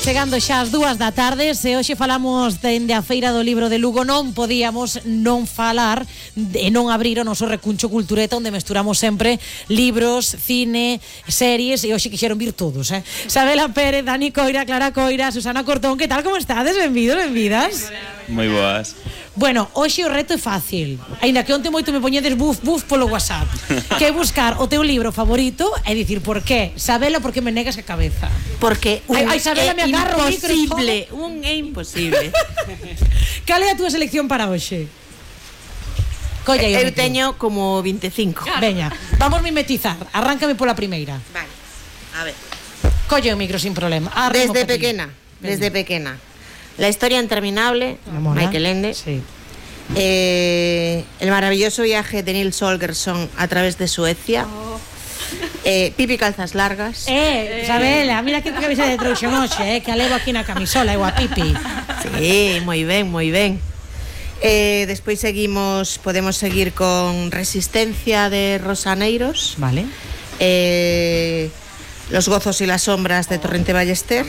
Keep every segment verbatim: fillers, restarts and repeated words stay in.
chegando xa as dúas da tarde. Se hoxe falamos dende a Feira do Libro de Lugo, non podíamos non falar e non abrir o noso recuncho cultureta, onde mesturamos sempre libros, cine, series, e hoxe quixeron vir todos, eh? Sabela Pérez, Dani Coira, Clara Coira, Susana Cortón, que tal, como estades? Benvidos, benvidas. Moi boas. Bueno, hoxe o reto é fácil. Aínda que onte moito me poñedes buf, buf polo WhatsApp. Que é buscar o teu libro favorito e dicir por qué. Sabela, por que me negas a cabeza. Porque un Ai, ai, Sabela, me agarro o imposible, un é imposible. Cal é a túa selección para hoxe? Colla aí o Eu micro. teño como veinticinco. Veña, vamos mimetizar. Arráncame pola primeira. Vale. A ver. Colle o micro sin problema. Arrimo Desde pa ti. pequena, desde pequena. La historia interminable, Me mola. Michael Ende. Sí. Eh, el maravilloso viaje de Nils Holgersson a través de Suecia. Oh. Eh, Pipi Calzas Largas. Eh, Sabela, mira que cabeza de trouxen hoxe, eh, que a levo aquí na camisola, eu a Pipi. Sí, moi ben, moi ben. Eh, despois seguimos, podemos seguir con Resistencia de Rosaneiros. Vale. Eh, Los gozos y las sombras de Torrente Ballester.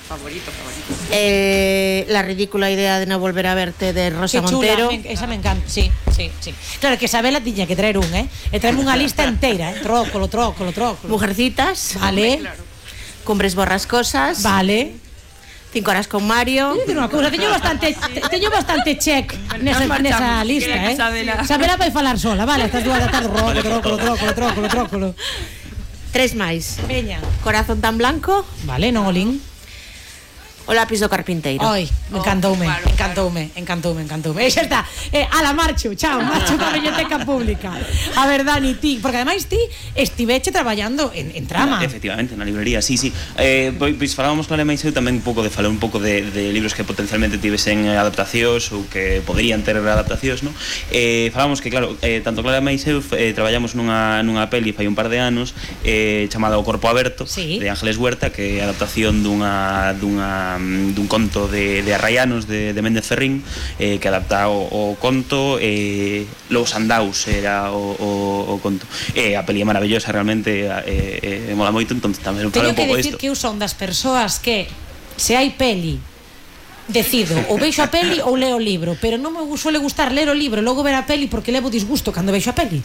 Favorito, favorito. Eh, la ridícula idea de no volver a verte de Rosa Que chula, Montero. me, esa me encanta, sí, sí, sí. Claro, que Sabela tiña que traer un, eh? E traerme unha lista inteira, eh? Trócolo, trócolo, trócolo. Mujercitas. Vale, Claro. Cumbres borrascosas. vale. Cinco horas con Mario. Teño que dicir unha cousa, teño bastante, te- teño bastante check nesa, Nos marchamos, nesa lista, que eh? Sabela. Sabela vai falar sola, vale, estas dúas da tarde, trócolo, trócolo, trócolo, trócolo, trócolo. Tres máis. Veña. Corazón tan blanco. Vale, non olín. O lápiz do carpinteiro. Ai, me encantoume, Oh, claro, encantoume, encantoume, encantoume. E xa está, eh, ala, marcho, chao, marcho para a biblioteca pública. A ver, Dani, ti, porque ademais ti estiveche traballando en, en trama. Efectivamente, na librería, sí, sí. Eh, pois, pois falábamos con a máis eu tamén un pouco de falar un pouco de, de libros que potencialmente tivesen adaptacións ou que poderían ter adaptacións, no? Eh, falábamos que, claro, eh, tanto Clara máis eu eh, traballamos nunha, nunha peli fai un par de anos eh, chamada O Corpo Aberto, Sí. de Ángeles Huerta, que é a adaptación dunha, dunha, dun conto de, de Arraianos de, de Méndez Ferrín, eh, que adapta o, o conto, eh, Los Andaus era o, o, o conto. Eh, a peli é maravillosa, realmente, eh, eh, mola moito, entón tamén fala Teño un que pouco decir disto. que eu son das persoas que se hai peli decido ou veixo a peli ou leo o libro, pero non me suele gustar ler o libro e logo ver a peli porque levo disgusto cando veixo a peli.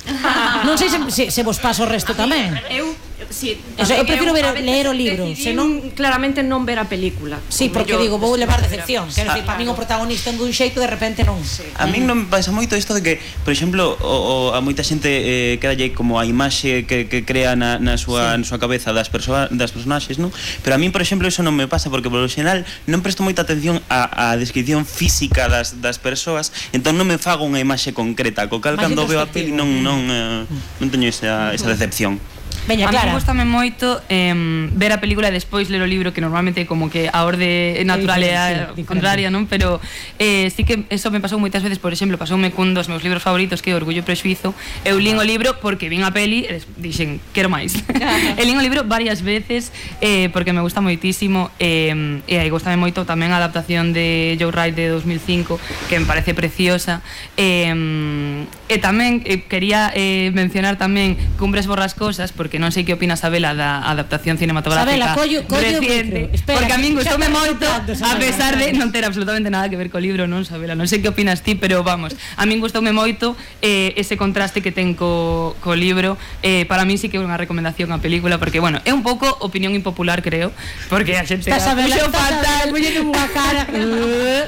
Non sei se, se, se vos paso o resto tamén. Eu, si, Eso, eu prefiro ver- a veces leer o libro, decidín senón- claramente non ver a película. Sí, Como porque yo, digo, vou pues, levar ver a- decepción. Quero dicir, para min o protagonista en dun xeito de repente non. A min non me pasa moito isto de que, por exemplo, o, o, a moita xente eh, quedalle como a imaxe que, que crea na, na, súa, Sí. na súa cabeza das, persoa, das personaxes, non? Pero a min, por exemplo, eso non me pasa porque, por lo xeral, non presto moita atención á, á descripción física das, das persoas, entón non me fago unha imaxe concreta, co cal Máis cando veo a peli introspectivo. non, non, eh, non teño esa, esa decepción. Veña, A mí Clara. gustame moito eh, ver a película e despois ler o libro, que normalmente como que a orde natural é a diferente, sí, contraria, non? Pero eh, sí que eso me pasou moitas veces. Por exemplo, pasoume cun dos meus libros favoritos, que é Orgullo e Prexuízo. Eu lín o libro porque vin a peli e des- dixen, quero máis. E lín o libro varias veces eh, porque me gusta moitísimo, eh, e aí gustame moito tamén a adaptación de Joe Wright de dos mil cinco, que me parece preciosa. Eh, e tamén eh, quería eh, mencionar tamén Cumbres borrascosas, porque non sei que opina Sabela da adaptación cinematográfica Sabela, collo- collo o reciente, micro. Espera, porque a min que xa gustoume estamos moito, soltando, a Sabela, pesar de Sabela. non ter absolutamente nada que ver co libro, non, Sabela? Non sei que opinas ti, pero vamos, a min gustoume moito eh, ese contraste que ten co, co libro. Eh, para mí sí que é unha recomendación a película, porque, bueno, é un pouco opinión impopular, creo, porque a xente Está Sabela, puxo está Sabela, fatal. poñendo unha cara.